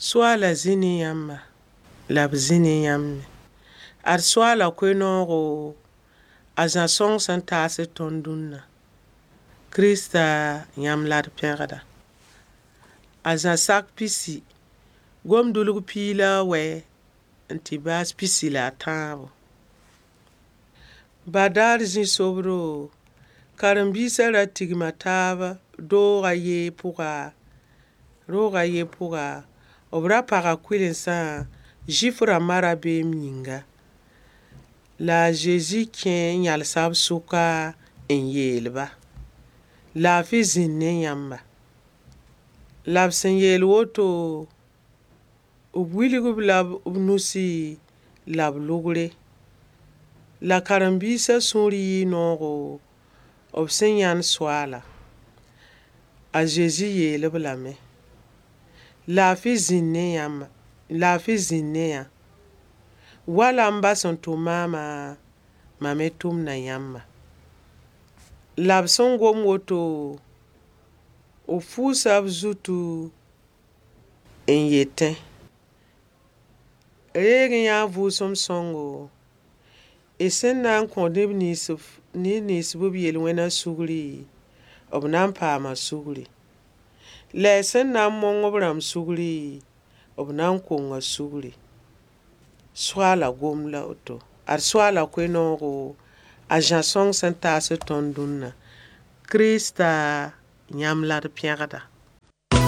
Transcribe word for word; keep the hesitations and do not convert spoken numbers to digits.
Soaala zĩ ne yãmba la b zĩ ne yãmb me. Ad Soaala koe-noogo a Zã sõng sẽn taasd tõnd dũnna. Kirista yãmb la d pẽgda. A Zã sak pisi, gom-dʋlg piig la a wɛ n tɩ baas pisi la a tãabo. Badaar zĩ-sobdo, karen-biisã ra tigma taab doog a ye pʋga, roog a ye pʋga, b ra paga kʋɩlensã Zʋɩf rãmbã rabeem yĩnga. La a Zezi kẽ n yãlsa b sʋka n yeel-ba: Laafɩ zĩnd ne yãmba. La b sẽn yeel woto, b wilg-b la b nusi la b lʋgre. La karen-biisã sũur yɩɩ noogo b sẽn yãnd Soaala. A Zezi yeel-b lame: Laafɩ zĩnd ne yãmba, laafɩ zĩnd ne yã. Wala m ba sẽn tʋm maamã, mam me tʋmda yãmba. La b sẽn gom woto, b fuusa b zutu n yetẽ: Reeg n yã vʋʋsem sõngo, y sẽn na n kõ neb nins neb nins b yel-wẽna sugri, b na n paama sugri. La y sẽn na n mong b rãmb sugri, b na n konga sugri. Soaala gom la woto. Ad Soaala koe-noogo a Zã sõng sẽn taasd tõnd dũnna. Kirista yãmb la d pẽgda.